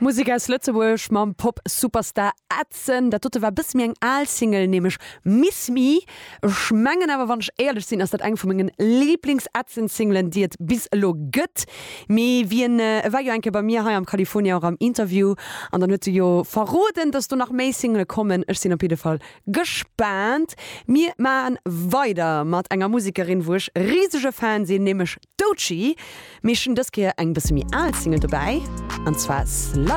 Musek aus Lëtzebuerg mam Pop-Superstar Edson. Dat dote war bësse méi eng al Single, nämlech Miss Me. Ech mengen awer, wann ech éierlech sinn, ass dat eng vu mengen Liiblings-Edson-Singlen, déi et bis elo gëtt. Mee wien, e war jo eng Kéier bei mir hei am California och am Interview an dann huet e jo verroden, dass do nach méi Single kommen. Ech sinn op jidde Fall gespaant. Mir maachen weider mat enger Musekerin, wou ech risege Fan sinn, nämlech Doechii. Mee ech hunn dës Kéier eng bësse méi al Single dobäi, an zwar Slide.